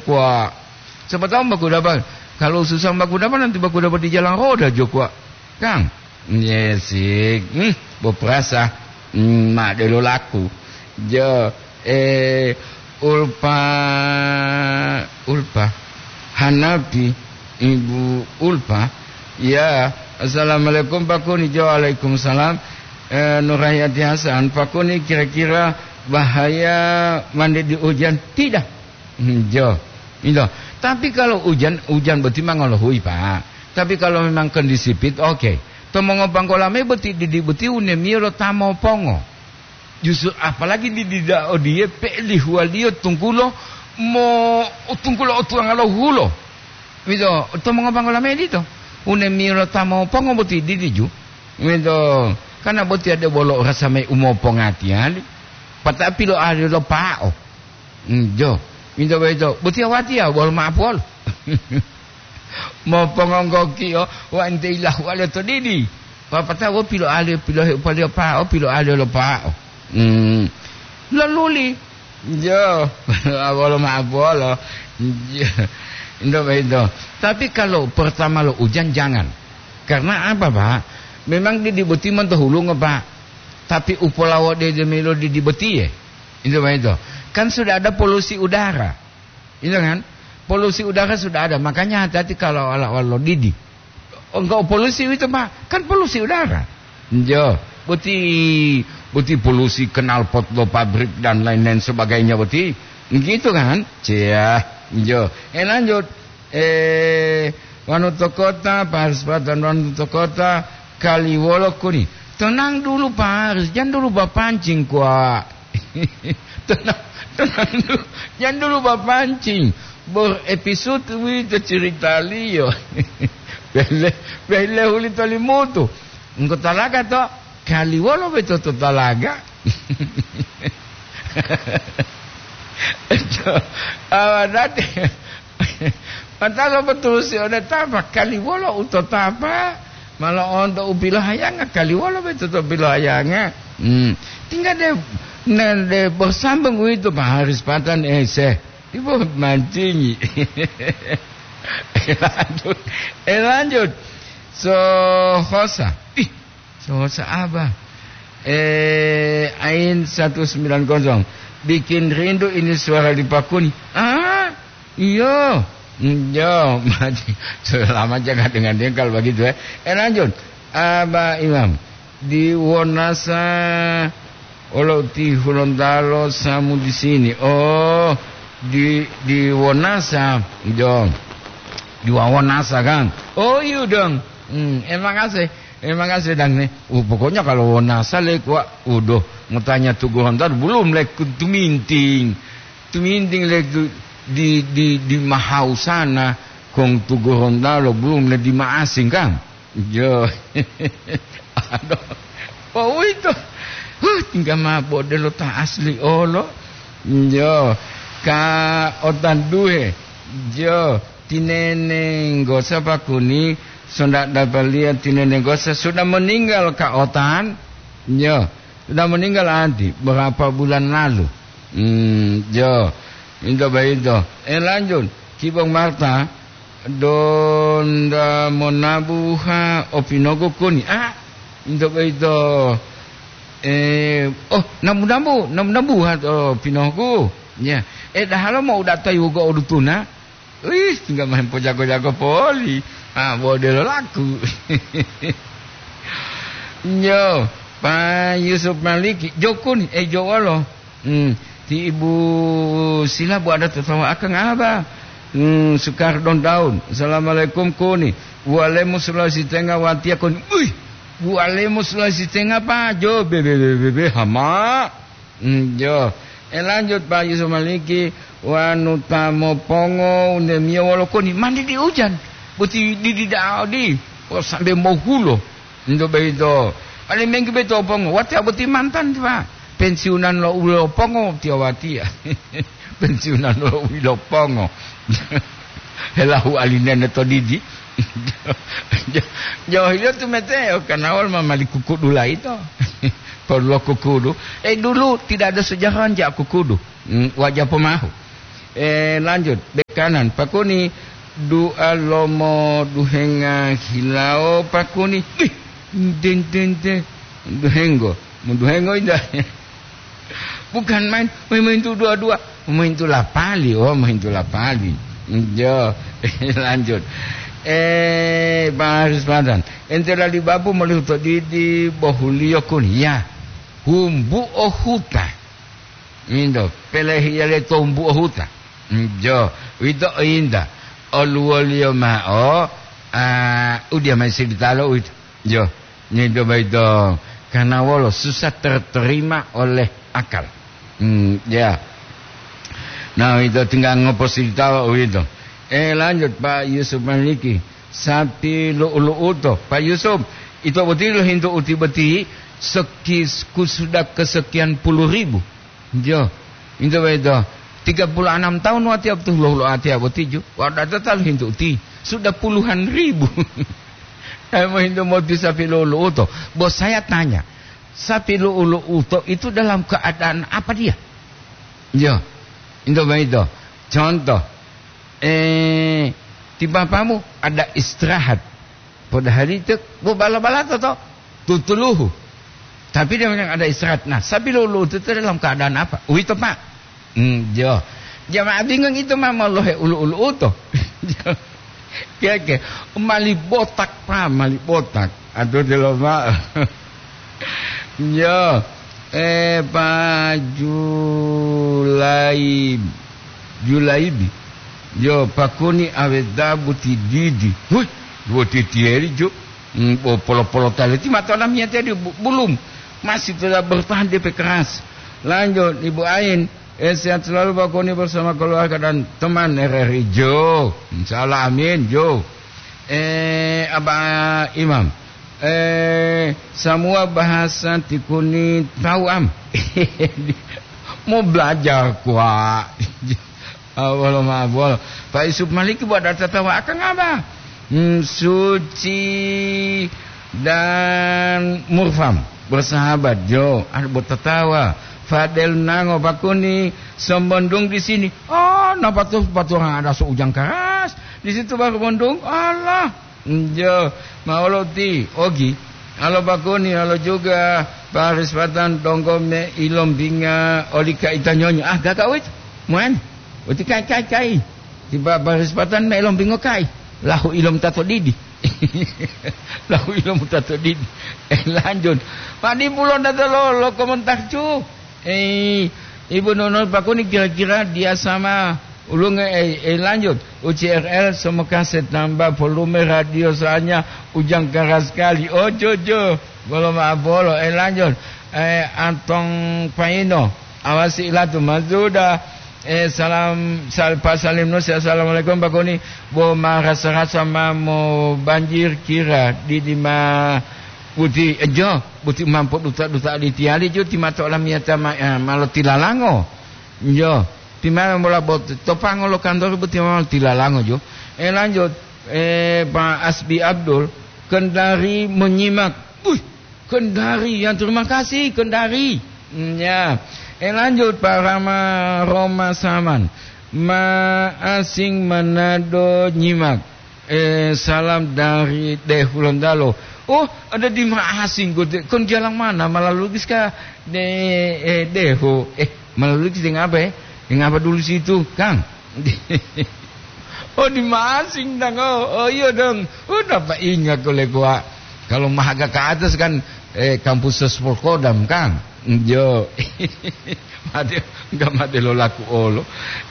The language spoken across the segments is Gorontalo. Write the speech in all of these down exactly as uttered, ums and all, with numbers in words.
Kuwa. Siapa tahu baku dapat. Kalau susah baku dapat, nanti baku dapat di jalan roda jo kuwa. Kang. Yes, hmm, bo perasa. Hmm, ma delo laku. Jo, eh, Ulpa, Ulpa. Hanapi, Ibu Ulpa. Ya, assalamualaikum Pak Kuni. Jo, waalaikumsalam. Eh, Nurhayati Hasan, Pak Kuni kira-kira bahaya mandi di hujan? Tidak. Hmm, jo. Ito. Tapi kalau hujan, hujan boti ma ngolohuyi, Pak. Tapi kalau memang kondisi pit, oke. To mongopanggola mayi boti didi boti unemiyo lo ta mopongo. Justru apalagi didi da odiye pe'elihuwaliyo tunggulo mo, tunggulo otuwanga lo hulo. Ito, to mongopanggola mayi dito. Unemiyo lo ta mopongo boti didi ju. Ito, karena boti ade bolo rasa mayi umopongati ali. Patapi lo ali lo pa'o. Hmm, jo. Minto boyito, boti awatiya wolo ma'apuwolo. Mopongonggokiyo wa ente ilahu ale to didi. Papata wo piloali, pilohe upaliyo pa'o, piloali lo pa'o. Hmm. Loluli. Jo, wolo ma'apuwolo. Jo. Minto boyito. Tapi kalau pertama lo ujan, jangan. Karena apa, Pak? Memang didi boti monto hulungo, Pak. Tapi upolawo de demelo didi botiye. Itu begitu. Kan sudah ada polusi udara. Itu kan? Polusi udara sudah ada. Makanya hati-hati kalau ala-ala didi. Enggak polusi itu, Pak. Kan polusi udara. Jo, boti, boti polusi knalpot lo pabrik dan lain-lain sebagainya boti. Gitu kan? Cia. Jo. Eh, lanjut. Eh, wanu to kota, Pak Haris Patan, wanu to kota, kaliwolo kuni. Tenang dulu, Pak Haris, jangan dulu bapancing, kuwa. Tenang, tenang dulu. Jangan dulu bapancing. Bor episode wito ceritaliyo. Bele, bele huli tolimutu. Engko talaga to, kaliwolo beto to talaga. Awa dati. Matalo betul si one tapa, kaliwolo u to tapa, malo onto u pilohayanga, kaliwolo beto to pilohayanga. Hmm. Tinggal de, ne, de bersambung itu Pak Haris Patan, eh, se. Ibu mancingi. Eh, lanjut. Eh, lanjut. So, hosa. Ih, so, hosa apa? Eh, Ain satu sembilan kosong. Bikin rindu ini suara di Pakuni. Ah, iyo. Hmm, yo, mati. Selama jangan dengan dia kalau begitu, ya. Eh, lanjut. Aba Imam. Di Wonasa, olo ti Hulontalo samu di sini. Oh, di, di Wonasa, dong. Di Wawonasa, kan? Oh, iya, dong. Hmm, emang asih. Emang asih, dang, nih. Uh, pokoknya kalau Wonasa, le, kuwa, uduh, mau tanya tu Gorontalo, belum, le, ku tuminting. Tuminting, le, tu, di, di, di Mahau sana, kong tu Gorontalo, belum, le, di Maasing, kan? Jo. Aduh. Wah, uwito. Huh, tingga mao bodelo ta asli olo. Jo. Ka otan duhe. Jo. Tinenenggosa pakuni, sonda dapaliya tinenenggosa sudah meninggal ka otan. Jo. Sudah meninggal anti berapa bulan lalu. Hmm, jo. Into boyito. Eh, lanjut. Kibong Marta, donda monabuha o pinogu kuni. Ah, into boyito. Eh, oh, nabu-nabu, nabu-nabuha to pinogu. Ya. Eh, dahalo mau datai wugo o dutuna. Wih, tinggal main pojago-jago poli. Ah, bodelo laku. Nyo, Pak Yusuf Maliki, jokun, eh, jowolo. Hmm, ti Ibu Sila bu ada tertawa akang apa? Hmm, Sukar Don Daun. Assalamualaikum kuni. Bualemu Sulawesi Tengah watia kuni. Wih, bualemu Sulawesi Tengah, Pak. Jo, be, be, be, be, be, hama. Hmm, jo. Eh, lanjut, Pak Yusuf Maliki, wanu ta mopongo, undemiyo wolo koni, mandi di ujan. Boti di, di da'a odi, o sambe mohulo. Ndo beito. Paling menggi beito pongo, wate aboti mantan, Pak. Pensiunan lo ulo pongo, tiyo watiya. Pensiunan lo ulo pongo. Helahu alinene to didi. Johilio tu mete, o kanawal mamali kukudu laito. Perlu kukudu. Eh, dulu tidak ada sejarah jak kukudu. Hmm, wajah pemahu. Eh, lanjut, bekanan, pakuni dua lomo duhenga hilawo, pakuni, ih, den, den, den, duhenggo, mu duhengo indah. Bukan main, main, main tu dua-dua, main tu lapali, oh, main tu lapali. Jo, lanjut. Eh, Pak Haris Madan, ente lali babu molihu to didi bohuliyo kun, ya, humbu o huta. Indo, pelehiya le tombu o huta. Jo, wito inda. Oluwoliyo ma'o, ah, udiya mai silitalo uwito. Jo, nindo baito. Karena wolo susah terterima oleh akal. Hmm, ya. Nah, itu tinggal ngopo silitawa uwito. Eh, lanjut, Pak Yusuf Maliki. Sapi lu'u-lu'uto. Pak Yusuf, ito boti lohintu uti boti seki-, ku sudah kesekian puluh ribu. Jo, ito boyito. Tiga puluh enam tahun watiya betul lo, lo atiya boti ju. Wada total hintu uti. Sudah puluhan ribu. Saya mau hintu mau sapi lu'u-lu'uto. Bos saya tanya, sapi lu'u-lu'uto itu dalam keadaan apa dia? Jo, ito boyito. Contoh, eh, ti bapamu ada istirahat. Padahal itu bu bala-bala to, to, tutuluhu. Tapi dia memang ada istirahat. Nah, sapi lu'u-lu'uto itu dalam keadaan apa? Uwito, Pak. Hmm, jo. Jamaah bingung itu, ma, molohe ulu-ulu uto. Keke, mali botak, Pak, mali botak. Aduh, delo, Pak. Jo. Eh, Pak Julaib-, Julaibi. Jo, pakuni aweta buti didi. Wih, buti tieri, jo. Hmm, bo polo-polo tali ti mata lamiyatiya di bu-, bulum. Masih tetap bertahan, D P keras. Lanjut, Ibu Ain. Eh, sehat selalu, Pak Koni, bersama keluarga dan teman R R I. Jo. Insya Allah, amin, jo. Eh, Abah Imam. Eh, semua bahasa tikuni tahu, am. Mau belajar, kuak. Awolo ma'o bolo. Pak Yusuf Maliki buat data tawa akang apa? Hmm, Suci dan Murfam bersahabat, jo, ada buat tatawa. Fadel Nango Pakuni, Sembondung di sini. Oh, napa tuh, batu orang ada seujang keras. Di situ baru Bondung. Allah. Njo, maolo ti, ogi. Alo bakoni, alo juga, Paris Patan donggo me ilombinga oli kaita nyonyo. Ah, gaga wit. Muan. Uti kai, kai, kai. Tiba Paris Patan me ilombingo kai. Lahu ilom tato didi. Lahu ilom tato didi. Eh, lanjut. Padi pulo data lo, lo komentar cu. Eh, Ibu Nunun Pakuni kira-kira dia sama ulunge, eh, eh, lanjut. U C R L semoga setambah volume radio soalnya ujang keras sekali. Oh, jo, jo. Bolo maaf bolo. Eh, lanjut. Eh, Antong Paino. Awasi ilatu mazuda. Eh, salam, sal-, Pak Salim Nusi. Assalamualaikum, Pak Kuni. Bo marasa-rasa ma mo banjir kira di, di ma Buti, eh, jo, buti mampu duta-duta aditiyali jo ti mato olamiyata ma-, eh, malo tilalango. Jo, ti ma mola bot-, topango lo kantor buti malo tilalango jo. Eh, lanjut, eh, Pak Asbi Abdul, Kendari menyimak. Wih, Kendari, yang terima kasih, Kendari. Hmm, ya. Eh, lanjut, Pak Rama Roma Saman. Ma asing Manado nyimak. Eh, salam dari De Hulontalo. Oh, ada di Maasing, Gode. Kon jalan mana? Malalugis ka? De, eh, Deho. Eh, Malalugis dengan apa, eh? Dengan apa dulu situ, Kang? Oh, di Maasing, Dang. Oh, oh, iya, Dang. Oh, dapat ingat oleh gua. Kalau mahaga ke atas kan, eh, kampus Sesporkodam, Kang. Jo. Mate, enggak mate lo laku olo.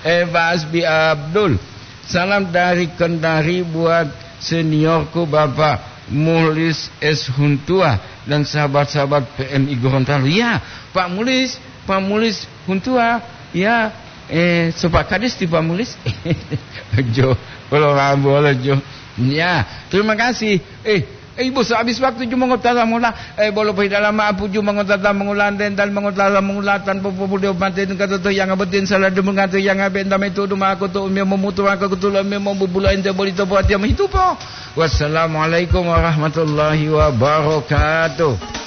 Eh, Pak Asbi Abdul. Salam dari Kendari buat seniorku Bapak Mulis S Huntua dan sahabat-sahabat P M I Gorontalo. Ya, Pak Mulis, Pak Mulis Huntua, ya, eh, Sopak Kadis di Pak Mulis. Jo, bolo rambu, bolo jo. Ya, terima kasih. Eh, Eh, Ibu, sehabis waktu ju mongotata mula, eh, bolo pohidala ma'apu ju mongotata mongula, dental mongotata mongula, tanpa popude opante nungka toto yang abetin salah demunga to yang abe entame tudu ma'ako to umio momutu ma'ako kutulo umio mobubulo ente boli to buat yang mohitupo. Wassalamualaikum warahmatullahi wabarakatuh.